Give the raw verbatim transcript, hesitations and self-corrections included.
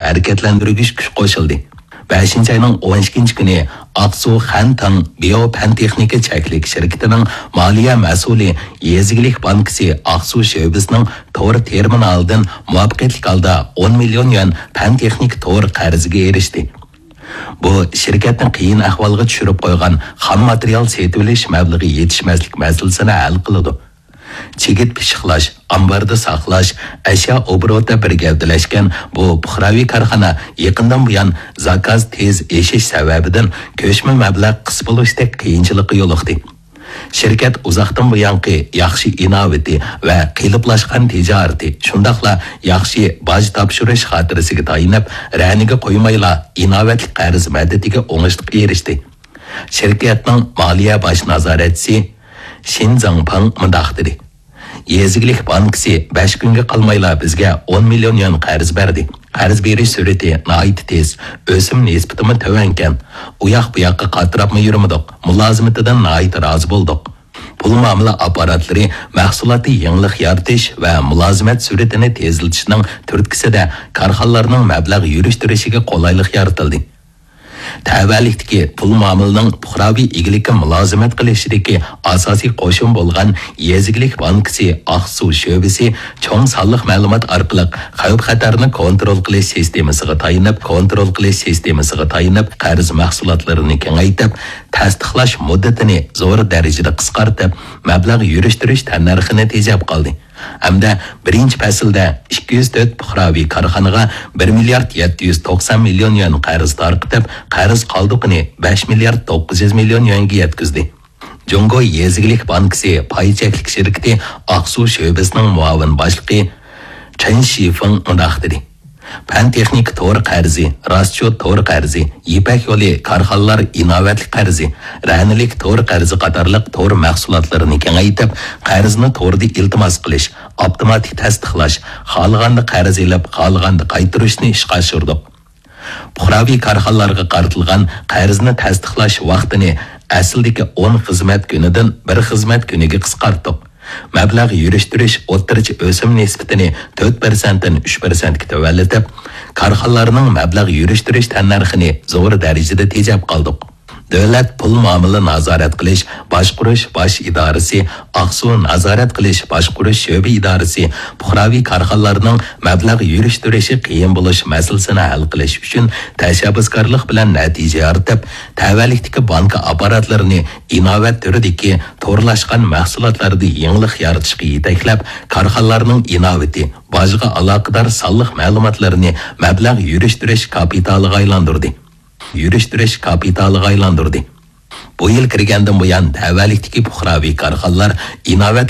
ھەرىكەتلەندۈرگۈچ كۈچ قوشۇلدى. بەشىنچى ئاينىڭ ئون ئىككىنچى كۈنى ئاقسۇ خەنتىڭ بىيو پەن تېخنىكا چەكلىك شىركىتىنىڭ مالىيە مەسئۇلى يېزا ئىگىلىك بانكىسى ئاقسۇ شۆبىسىنىڭ تور تېرمىنالىدىن مۇۋەپپەقىيەتلىك ھالدا ئون مىليون يۈەن پەن تېخنىكا تور قەرزىگە ئېرىشتى. بۇ شىركەتنى قىيىن ئەھۋالغا چۈشۈرۈپ قويغان خام ماتېرىيال سېتىۋېلىش مەبلىغى يېتىشمەسلىك مەسىلىسىنى ھەل قىلىدۇ. چىگىت پىششىقلاش، ئامباردا ساقلاش، ئەشيا ئوبوروتى بىر گەۋدىلەشكەن بۇ پۇقراۋى كارخانا يېقىندىن بۇيان زاكاز تېز ئېشىش سەۋەبىدىن كۆچمە مەبلەغ قىس بولۇشتەك قىيىنچىلىققا يولۇقتى. شىركەت ئۇزاقتىن بۇيانقى ياخشى ئىناۋىتى ۋە قېلىپلاشقان تىجارىتى، شۇنداقلا ياخشى باج تاپشۇرۇش خاتىرىسىگە تايىنىپ، رەنىگە قويمايلا ئىناۋەتلىك قەرز مەدىتىگە ئوڭۇشلۇق ئېرىشتى. شىركەتنىڭ مالىيە باش نازارەتچىسى شىن زاڭپاڭ مۇنداق دېدى: يېزا ئىگىلىك بانكىسى بەش كۈنگە قالمايلا بىزگە ئون مىليون يۈەن قەرز بەردى. قەرز بېرىش سۈرئىتى ناھايىتى تېز، ئۆسۈم نىسبىتىمۇ تۆۋەنكەن. ئۇياق-بۇياققا قاتراپمۇ يۈرمىدۇق، مۇلازىمىتىدىن ناھايىتى رازى بولدۇق. پۇل مۇئامىلە ئاپپاراتلىرى مەھسۇلاتنى يېڭىلىق يارىتىش ۋە مۇلازىمەت سۈرئىتىنى تېزلىتىشنىڭ تۈرتكىسىدە كارخانىلارنىڭ مەبلەغ يۈرۈشتۈرۈشىگە قولايلىق يارىتىلدى. تەۋەلىكتىكى پۇل مۇئامىلىنىڭ پۇقراۋى ئىگىلىككە مۇلازىمەت قىلىشىدىكى ئاساسىي قوشۇن بولغان يېزا ئىگىلىك بانكىسى ئاقسۇ شۆبىسى چوڭ سانلىق مەلۇمات ئارقىلىق خەۋپ-خەتەرنى كونترول قىلىش سىستېمىسىغا تايىنىپ، كونترول قىلىش سىستېمىسىغا تايىنىپ، قەرز مەھسۇلاتلىرىنى كېڭەيتىپ، تەستىقلاش مۇددىتىنى زور دەرىجىدە قىسقارتىپ، مەبلەغ يۈرۈشتۈرۈش تەننەرخىنى تېجەپ قالدى. ھەمدە بىرىنچى پەسىلدە ئىككى يۈز تۆت پۇقراۋى كارخانىغا بىر مىليارد يەتتە يۈز توقسان مىليون يۈەن قەرز تارقىتىپ، قەرز قالدۇقىنى بەش مىليارد توققۇز يۈز مىليون يۈەنگە يەتكۈزدى. جۇڭگو يېزا ئىگىلىك بانكىسى پاي چەكلىك شىركىتى ئاقسۇ شۆبىسىنىڭ مۇئاۋىن باشلىقى چېن شىفېڭ مۇنداق دېدى: پەن تېخنىكا تور قەرزى، راسچوت تور قەرزى، يىپەك يولى كارخانىلار ئىناۋەتلىك قەرزى، رەنىلىك تور قەرزى قاتارلىق تور مەھسۇلاتلىرىنى كېڭەيتىپ، قەرزنى توردا ئىلتىماس قىلىش، ئاپتوماتىك تەستىقلاش، خالىغاندا قەرز ئېلىپ، خالىغاندا قايتۇرۇشنى ئىشقا ئاشۇردۇق. پۇقراۋى كارخانىلارغا قارىتىلغان قەرزنى تەستىقلاش ۋاقتىنى ئەسلىدىكى ئون خىزمەت كۈنىدىن بىر خىزمەت كۈنىگە قىسقارتتۇق. مەبلەغ يۈرۈشتۈرۈش ئوتتۇرىچە ئۆسۈم نىسبىتىنى تۆت پىرسەنتتىن ئۈچ پىرسەنتكە تۆۋەنلىتىپ، كارخانىلارنىڭ مەبلەغ يۈرۈشتۈرۈش تەننەرخىنى زور دەرىجىدە تېجەپ قالدۇق. دۆلەت پۇل مۇئامىلە نازارەت قىلىش باشقۇرۇش باش ئىدارىسى، ئاقسۇ نازارەت قىلىش باشقۇرۇش شۆبە ئىدارىسى پۇقراۋى كارخانىلارنىڭ مەبلەغ يۈرۈشتۈرۈشى قىيىن بولۇش مەسىلىسىنى ھەل قىلىش ئۈچۈن تەشەببۇسكارلىق بىلەن نەتىجە يارىتىپ، تەۋەلىكتىكى بانكا ئاپپاراتلىرىنى ئىناۋەت تۈرىدىكى تورلاشقان مەھسۇلاتلاردا يېڭىلىق يارىتىشقا يېتەكلەپ، كارخانىلارنىڭ ئىناۋىتى، باجغا ئالاقىدار سانلىق مەلۇماتلىرىنى مەبلەغ يۈرۈشتۈرۈش كاپىتالىغا ئايلاندۇردى. يۈرۈشتۈرۈش كاپىتالىغا ئايلاندۇردى. بۇ يىل كىرگەندىن بۇيان، تەۋەلىكتىكى پۇقراۋى كارخانىلار ئىناۋەت